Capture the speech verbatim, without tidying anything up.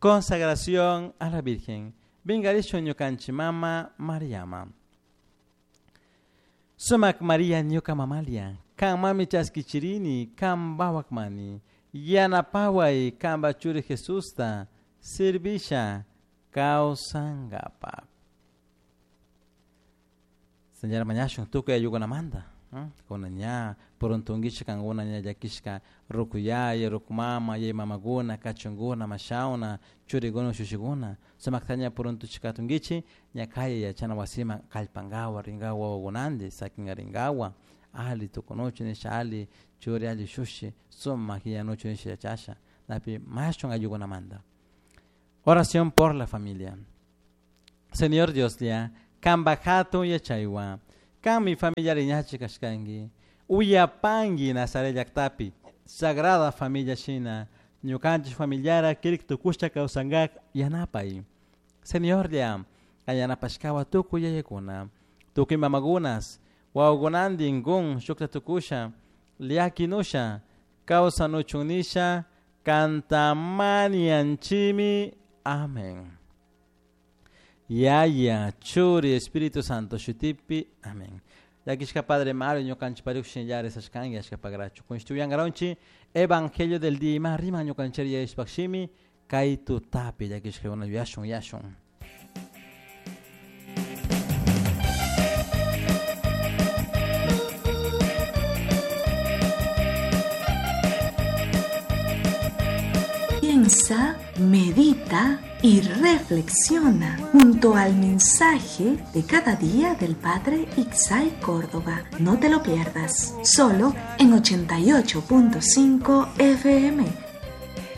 Consagración a la Virgen. Vingarishun ñukanchik mama Mariama. Sumak Maria ñuka mamalia, kan mami chaskichirini, kan bawakmani, yanapaway kanpa churi Jesusta, servisha kawsankapa. Señora mañashun tukuy ayukunamanta. Kuna ña puruntunkichik kankuna ña llakishka rukuyaya, rukumama, yay mamakuna, kachunkuna, mashawna, churikuna, ushushikuna. Sumakta ña puruntuchikatunkichik ña kaya yachana wasiman kallpankawa, rinkawa wawakunanti, sakinka rinkawa, ali tukunuchu nisha, ali churi, ali ushushi, sumak yanuchu nisha yachasha. Napi mashun ayukunamanta. Oración por la familia. Señor Dios lia, kanpa hatun yachaywan, kanmi familia riñachi kashkanki, uyapanki Nazaret llaktapi, Sagrada Familia shina, ñukanchik familiara kirik tukushta kawsankak yanapay. Señor lia, yanapashkawa tukuy yayakuna, tukuy mamakunas, wawakunantin kun shukta tukusha, llakinusha, kawsanuchun nisha, kantamanianchimi. Amén. Yaya, Churi, Espíritu Santo, Shutipi. Amén. Llakishka Padre Mario, ñukanchik pariuk shinllari sashkanki ashkapakrachu. Kunshtuyankaronchi, Evangelio del día ima rima ñukanchik yayashpakshimi, kay tutapi llakishka una yashun yashun. Piensa, medita y reflexiona junto al mensaje de cada día del Padre Ixay Córdoba. No te lo pierdas, solo en ochenta y ocho punto cinco F M.